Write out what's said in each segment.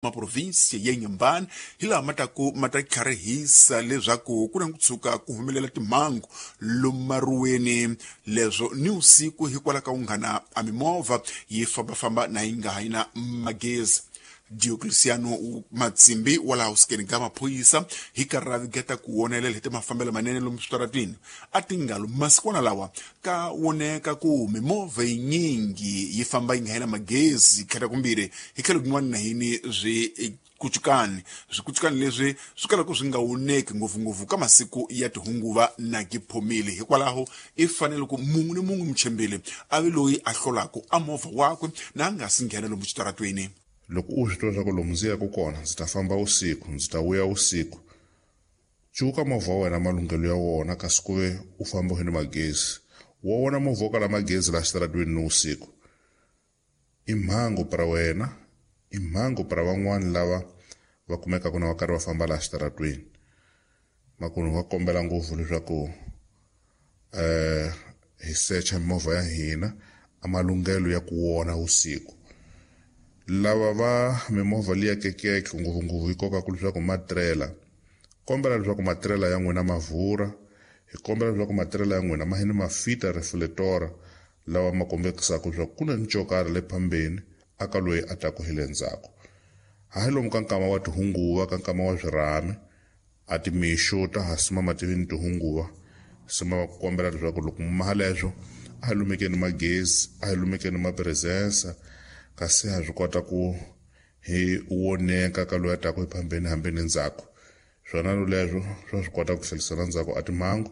Maprovinsi ya Inhambane hi laha ma taku ma ta tlharihisa leswaku ku na ku tshuka ku humelela timhangu lomu maruweni leswo ni usiku hikwalaho ka unghana a mimovha yi fambafamba na yi nga ha yi na magezi. Diocleciano Matsimbi wa laha usikeni ka maphorisa hi karhi ra vigeta ku wonelela hi timafambelo manene lomu switaratini a tingalo masikwana lawa ka woneka ku mimovha yinyingi yi famba yi nga yi na magezi khata kumbirhi hi tlhelo kun'wana na yini swi kucukani swikucukani leswi swi kalaka swi nga woneki ngopfungopfu ka masiku ya tihunguva na giphomile. Hikwalaho i fanele ku mun'we ni mun'we muchembeli a ve loyi a hlolaka a movha wakwe na a nga si nghena lomu xitaratweni. Loko u swi twa leswaku lomu ndzi yaka kona ndzi ta famba vusiku, ndzi ta vuya vusiku, cuka movha wa wena malunghelo ya wona kasi ku ve u famba u ni magezi. Wa vona movha wo kala magezi laha xitaratweni ni vusiku i mhangu pra wena, i mhangu pra van'wani lava va kumekaka na va karhi va famba laha xitaratweni. Makunu va kombela ngopfu leswaku hi secha mimovha ya hina a malunghelo ya ku wona vusiku. Lava va mimovha liya kekeke ngopfungopfu yi kokaka leswaku matirela, kombela leswaku matirela ya n'wina ma vhura, hi kombela leswaku matirela ya n'wina ma ni ma fita reflector lawa ma kombekisaka leswaku ku na ncokari le phambeni aka loyi a taku hi le ndzhaku. Hayi lomu ka nkama wa tihunguva, ka nkama wa swirhami, a timixo ta ha sima mativini tihunguva, sima va kombela leswaku loko maha leswo a hi lumekeni magezi, a hi lumekeni mapresensa, kasi ha swi kota ku hi woneka ka loyi a taku hi phambeni hambi ni ndzhaku. Swona leswo swa swi kota ku tlhelisela ndzhaku a timhangu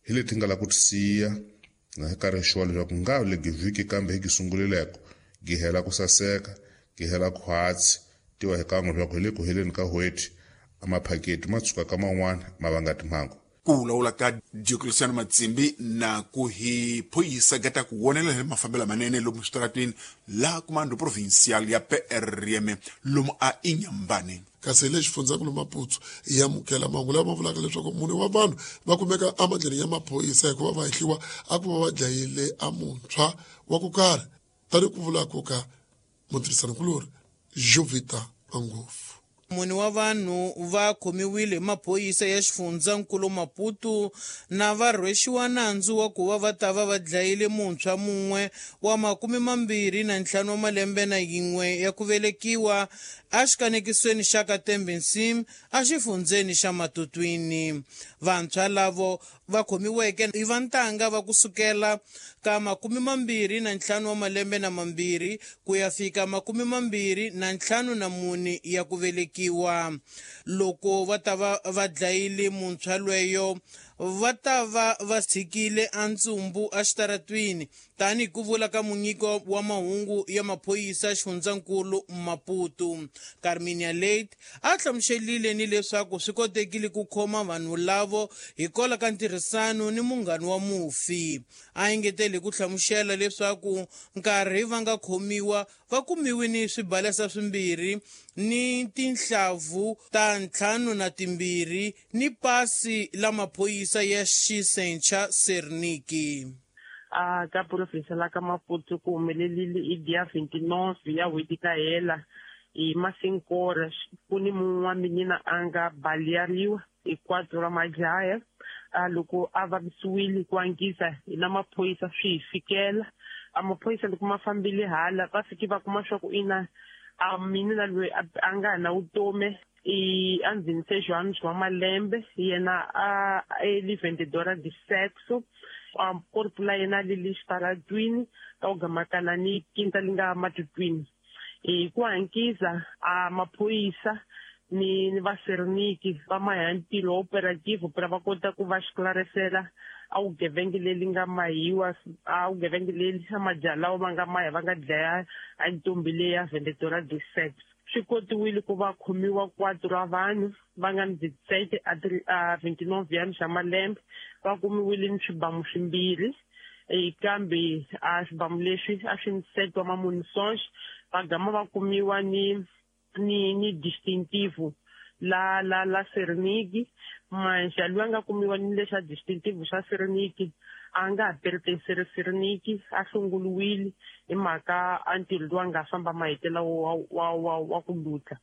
hi leti nga la ku ti siya na hi karhi xuwa leswaku nga le vhiki kambe hi gi sungulileko gi hela ku saseka, gi hela khwatsi, tiva hi kan'we leswaku hi le ku heleni ka n'hweti a maphaketi ma tshuka ka man'wana ma vanga timhangu. Ku vulavula ka Diocleciano Matsimbi na ku hi phoyisa gata ku wonelela hi mafambelo manene lomu switarateni laha Comando Provincial ya PRM lomu a Inhambane. Kasi hi le xifundzankulu Maputo hi amukela mahungu lama vulaka leswaku mune wa vanhu va kumeka emandleni ya maphorisa hikuva va hehliwa a ku va va dlayile a muntshwa wa ku karhi, tani ku vula ku ka mutirhisanikulori Jovita Mangofu. Mune wa vanhu va khomiwile hi maphorisa ya xifundzankulu Maputo na va rhwexiwa nandzu wa ku va va ta va va dlayile muntshwa mun'we wa 25 wa malembe na yin'we ya ku velekiwa exikanekisweni xa Katembe-Nsim exifundzeni xa Matutwini. Vantshwa lavo va khomiweke i va ntanga va kusukela ka 25 wa malembe na mambirhi ku ya fika 24 ya ku velekiwa. Loko va ta va va dlayile muntshwa lweyo, va ta va va tshikile a ntsumbu exitaratwini, tanihi ku vula ka munyiko wa mahungu ya maphorisa xifundzankulu Maputo. Carminia Late a hlamuselile ni leswaku swi kotekile ku khoma vanhu lavo hikwalaho ka ntirhisano ni munghana wa mufi. A engetele ku hlamusela leswaku nkarhi va nga khomiwa va kumiwe ni swibalesa swimbirhi ni tinhlavu ta 52 ni pasi la maphorisa ya xisencha Serniki. A ka province la ka Maputo ku humelelile i dia 29 ya n'hweti ka hela hi masinkora ku ni mun'we wa minina a nga baleariwa hi 4 ra madlaya. A loko a vavisiwile ku angisa hi na maphorisa swi hi fikela. A maphorisa loko ma fambile hala va fike va kuma swa ku ina a minina loyi a nga na vutomi i a ndzhenise Johannes wa malembe, yena a eli vendedora de sexo. A corpo la yena li le xitaratwini ka ku gamakana ni kinta li nga matutwini. Hi ku hankisa a maphorisa ni va Serniki va maha ntirho operative pra va kota ku va xiklarisela a vugevenga leri nga mahiwa, a vugevenga leri a majaha lawa va nga maha va nga dlaya a ntombi leya vendedora de sex. Swi kotiwile ku va khomiwa 4 ra vanhu va nga ni 17 a 29 ya xa malembe, va kumiwile ni swibamu swimbirhi, kambe a swibamu leswi a swi ni set wa mamunisonx, va gama va kumiwa ni distintivo la la la Serniki. Manxa loyi a nga kumiwa ni lexa distintivo xa Serniki a nga ha pertenceri Serniki, a hlongoliwile hi mhaka a ntirho lowu a nga famba mahetela wa ku lutla.